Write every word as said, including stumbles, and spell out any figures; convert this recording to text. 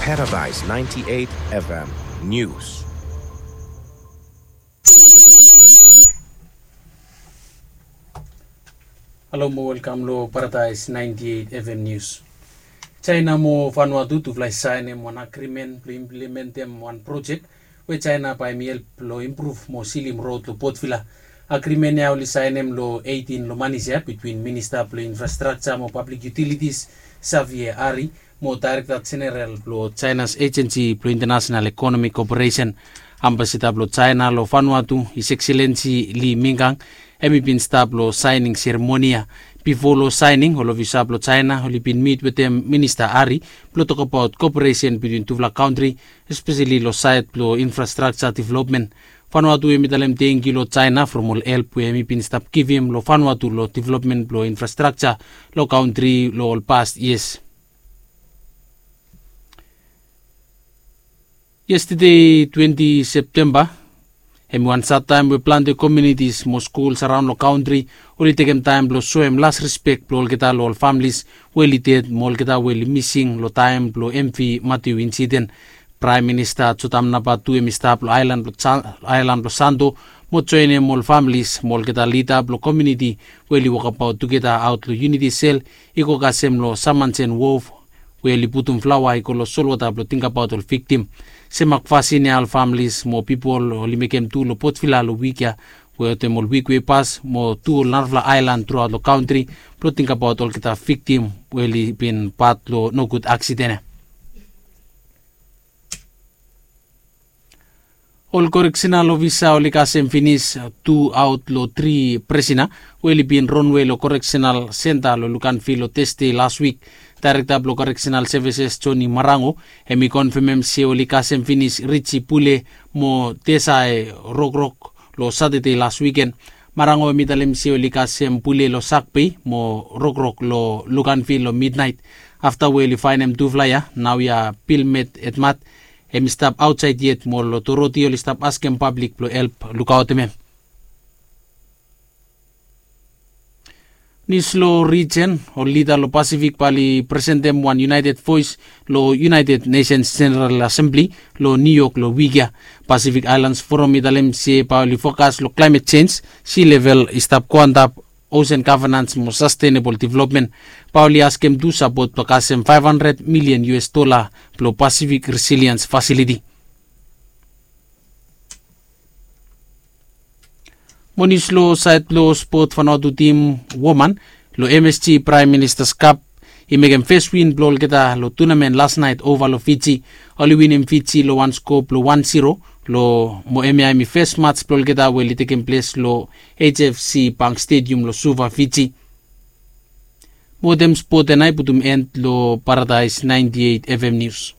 Paradise ninety-eight F M News. Halo mo welkam lo Paradise ninety-eight F M News. China mo Vanuatu tufala i saenem wan agrimen blo implementem wan projek we China bae hem i help lo impruv mo silim rod lo Port Vila. Agrimen ya oli saenem lo eitin lo manis ya bitwin Minista blo Infrastrakja mo Pablik Yutilitis Xavier Ari mo Daerekta Jeneral blo China's Agency blo International Economic Cooperation. Ambasada blo China lo Vanuatu, His Excellency Li Mingang, hem i bin stap lo saening seremoni ya. Bifo lo saening, ol ofisa blo China oli bin mit wetem Minista Ari blo tokbaot koperesen bitwin tufala kantri, espeseli lo saed blo infrastrakja developmen. Vanuatu hem i talem tangkiu lo China from ol help we hem i bin stap givim lo Vanuatu lo developmen blo infrastrakja lo kantri lo ol past yias. Yestede twenti Septemba hem i wan sad taem we plante komiunitis mo skuls araon lo kantri oli tekem taem blo soem las rispek blo olgeta lo ol familis we oli ded mo olgeta we oli mising lo taem blo MV Matthew insiden. Praem Minista Jotam namba tu hem i stap lo aelan blo Sa- aelan blo Santo mo joenem ol familis mo olgeta lida blo komiuniti we oli wokabaot tugeta aot lo Unity Cell i go kasem lo Samansen Wharf we oli putum flaoa i go lo solwota blo tingbaot ol viktim. Sem makfasin ya ol familis mo pipol oli mekem tu lo Port Vila lo wik ya wetem ol wik we i pas mo tu ol narafala aelan truaot lo kantri blo tingbaot olgeta viktim we oli bin pat lo nogud aksiden ya. Ol koreksenal ofisa oli kasem finis tu aot lo tri prisena we oli bin ronwe lo koreksenal senta lo Luganville lo Tasde las wik. Daerekta blo Koreksenal Sevises Johnny Marango hem i konfemem se oli kasem finis Richie Pule mo Tesae Rokrok lo Satade las wiken. Marango hem i talem se oli kasem Pule lo Sagpei mo Rokrok lo Luganville lo midnaet. Afta we oli faenem tufala ya, naoia Pilmet Edmat hem i stap aotsaed yet mo ol otoriti oli stap askem pablik blo help lukaotem hem. Nius lo rijen, ol lida lo Pasifik bae oli presentem wan iunaeted voes lo United Nations General Assembly lo New York lo wik ya. Pasifik Aelans Foram i talem se bae oli fokas lo klaemet jenj, si level i stap go antap, osen gavenans mo sastenebol developmen. Bae oli askem tu sapot blo kasem faef handred milian US dola blo Pasifik Resiliens Fasiliti. Mo nius lo saed blo spot, Vanuatu tim woman lo MSG Praem Ministas Kap i mekem fes win blo olgeta lo tunamen las naet ova lo Fiji. Oli winim Fiji lo wan sko blo wan zero lo mo hemia hem i fes mats blo olgeta we oli tekem ples lo HFC Bank Stadium lo Suva, Fiji. Mo wetem spot ya nao i putum end lo Paradise ninety-eight FM News.